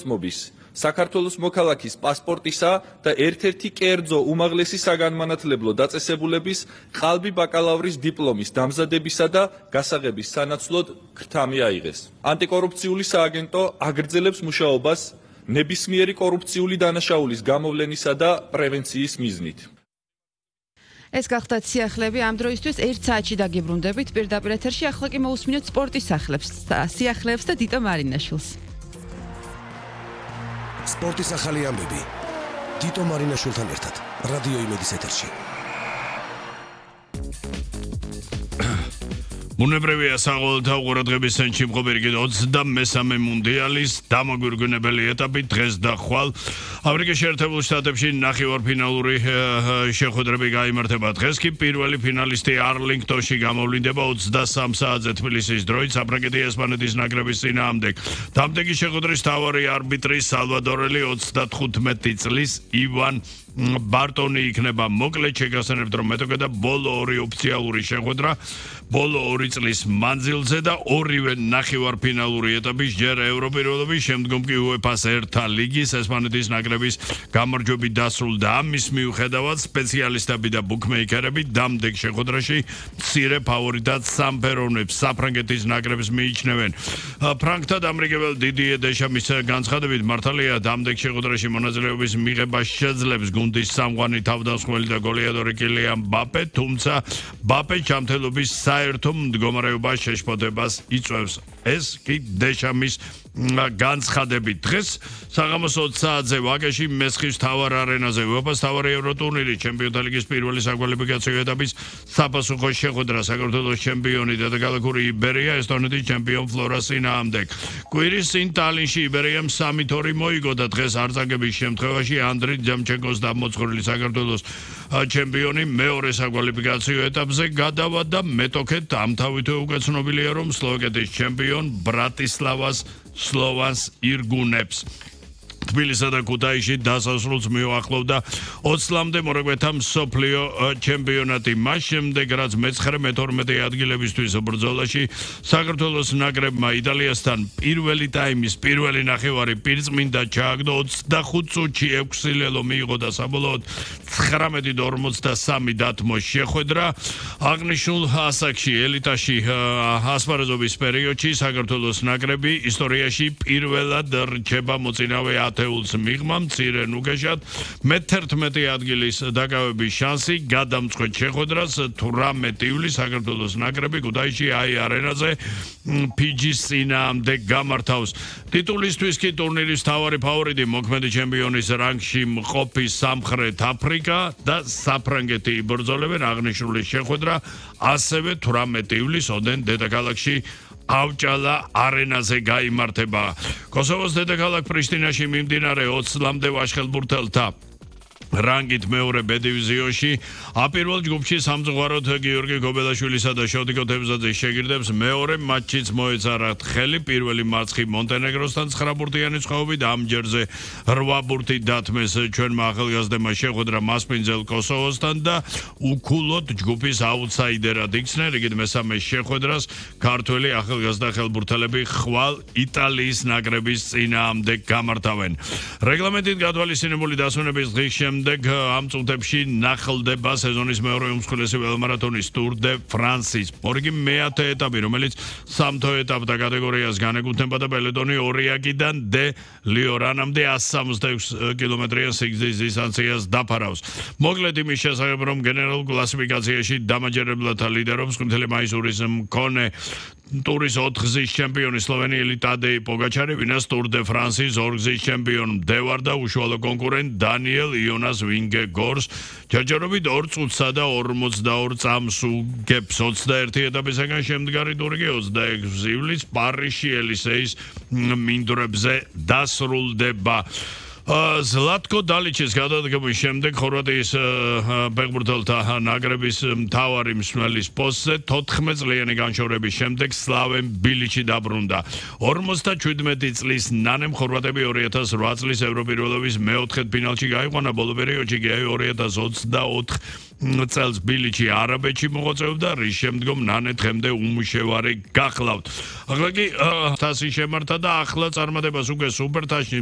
მოწმობის, საქართველოს მოქალაქის პასპორტისა და ერთ-ერთი კერძო უმაღლესი საგანმანათლებლო დაწესებულების ყალბი ბაკალავრის დიპლომის დამზადებისა და გასაღების სანაცვლოდ ქრთამი აიღეს. ანტიკორუფციული სააგენტო აგრძელებს მუშაობას ნებისმიერი კორუფციული დანაშაულის გამოვლენისა და პრევენციის მიზნით. ეს გახდათ სიახლეები ამ დროისთვის 1 საათში დაგიბრუნდებით პირდაპირ ეთერში ახლა კი მოусმინოთ სპორტის სიახლეებს და დიტო მარინაშვილს. სპორტის ახალი ამბები დიტო მარინაშვილთან ერთად რადიო იმედის ეთერში. Ბუნებრივია საყოველთაო ყურადღების ცენტრში მყოფი 23 მუნდიალის დამაგვირგვინებელი ეტაპი დღეს და ხვალ ამერიკის შეერთებულ შტატებში ნახევარფინალური შეხვედრები გაიმართება. დღეს კი პირველი ფინალისტი არლინგტონში გამოვლინდება 23 საათზე თბილისის დროით საფრანგეთი ესპანეთის ნაკრების წინააღმდეგ. დამდეგი შეხვედრის მთავარი არბიტრი სალვადორელი 35 წლის ივან ბარტონი იქნება. მოკლედ შეგახსენებთ, რომ მეტოქე და ბოლო ორი ოფიციალური შეხვედრა ბოლო 2 წლის მანძილზე და ორივე ნახევარფინალური ეტაპის ჯერ ევროპირველობის, შემდგომ კი UEFA-ს ერთა ლიგის ესპანეთის ნაკრების გამარჯვებით დასრულდა. ამის მიუხედავად სპეციალისტები და ბუქმეიკერები დამდეგ შეხვედრაში მცირე ფავორიტად სამფეროვნებს საფრანგეთის ნაკრებს მიიჩნევენ. ფრანკთა დამრიგებელ დიდიე დეშამის განცხადებით მართალია დამდეგ შეხვედრაში მონაწილეობის მიღება შეძლებს გუნდის სამღვანი თავდამსხმელი და გოლეადორი კილიან მბაპე, თუმცა მბაპე ჯანმრთელობის საერთო მდგომარეობას შეშფოთებას იწვევს. ეს კი დეშამის განცხადებით. დღეს საღამოს 20 საათზე ვაკეში მესხის მთავარ არენაზე UEFA-ს მთავარი ევროტურნირი ჩემპიონთა ლიგის პირველი საკვალიფიკაციო ეტაპის საფასუხო შეხვედრა საქართველოს ჩემპიონი დედაქალაქური იბერია ესტონეთის ჩემპიონ ფლორას წინააღმდეგ. კვირის წინ ტალინში იბერიამ 3-2 მოიგო და დღეს არწაგების შემთხვევაში ანდრი ჯამჩენკოს დამოწვრილი საქართველოს ჩემპიონი მეორე საკვალიფიკაციო ეტაპზე გადავა და მეტოქეთ ამთავითო უკვე ცნობილია, რომ სლოვაკეთის ჩემპიონ ბრატისლავას სლოვანს ირგუნებს. თბილისსა და ქუთაისში დასასრულს მიუახლოვდა 20-მდე მორაგბეთა მსოფლიო ჩემპიონატი. მას შემდეგ, რაც მე-12 ადგილებისთვის ბრძოლაში საქართველოს ნაკრებმა იტალიასთან პირველი ტაიმის პირველი ნახევარი პირწმინდა ჩააგდო 25 წუთში 6 ლელო მიიღო და საბოლოოდ 19-53 დათმო შეხვედრა. აღნიშნულ ასაკში ელიტაში ასპარეზობის პერიოდში საქართველოს ნაკრები ისტორიაში პირველად რჩება მოწინავე ათეულს მიღმა მცირე ნუგეშად მე-11 ადგილის დაკავების შანსი გადამწყვეტ შეხვედრას 18 ივლისს საქართველოს ნაკრები ქუთაისში არენაზე ფიჯის წინააღმდეგ გამართავს. ტიტულისთვის კი ტურნირის მთავარი ფავორიტი მოქმედი ჩემპიონის რანგში მყოფი სამხრეთ აფრიკა და საფრანგეთი იბრძოლებენ. აღნიშნული შეხვედრა ასევე 18 ივლისს ოდენ დედაქალაქში ავჭალა არენაზე გაიმართება. კოსოვოს დედაქალაქ პრიშტინაში მიმდინარე 20-მდე ვაშხელბურთელთა რანგით მეორე B დივიზიონში აპირვალ ჯგუფში სამწუხაროდ გიორგი გობელაშვილისა და შოდიკო თევზაძის შეგირდებს მეორე მატჩიც მოეწარათ ხელი. პირველი მარცხი მონტენეგროსთან 9 ბურთიანი წყობით, ამ ჯერზე 8 ბურთი დათმეს ჩვენმა ახალგაზრდებმა შეხვედრა მასპინძელ კოსოვოსთან და უკულოდ ჯგუფის აუტსაიდერად იქცნენ. რიგით მესამე შეხვედრას ქართველი ახალგაზრდა ხელბურთელები ხვალ იტალიის ნაკრების წინააღმდეგ გამართავენ. რეგლამენტით გათვალისწინებული დასვენების დღის შემდეგ ამ წუთებში ნახლდება სეზონის მეორე უმსხვილესი ველმარათონის Tour de France-ის. მორიგი მეათე ეტაპი, რომელიც სამთო ეტაპთა კატეგორიას განეკუთვნება და პელეტონი ორიაკიდან დე ლიორანამდე 166 კილომეტრიან სიგრძის დისტანციას დაფარავს. მოკლედ იმის შესახებ, რომ გენერალურ კლასიფიკაციაში დამაჯერებლად ლიდერობს ყმთელი მაისურის მქონე ტურის 4 გზის ჩემპიონი სლოვენიელი ტადეი პოგაჩარი, ვინაც Tour de France-ის 2 გზის ჩემპიონი მდევარ და უშუალო კონკურენტ დანიელ იონას ვინგეგორს ჯერჯერობით 2 წუთსა და 42 წამს უგებს. 21 ეტაპისაგან შემდგარი ტური კი 26 ივლისს პარიზში ელისეის მინდვრებზე დასრულდება. ზლატკო დალიჩის გადადგომის შემდეგ ხორვატიის ფეხბურთელთა ნაკრების მთავარი მსმელის პოსტზე 14 წლიანი განშორების შემდეგ სლავენ ბილიჩი დაბრუნდა. 57 წლის ნანემ ხორვატები 2008 წლის ევროპირველობის მეოთხედ ფინალში გაიყვანა. ბოლო პერიოდში კი 2024 წელს ბილიჩი არაბეთში მოღვაწეობდა, რის შემდგომ ნანე დღემდე უმუშევარი გახლავთ. ახლა კი თასი შემართა და ახლა წარმატებას უკვე სუპერთასში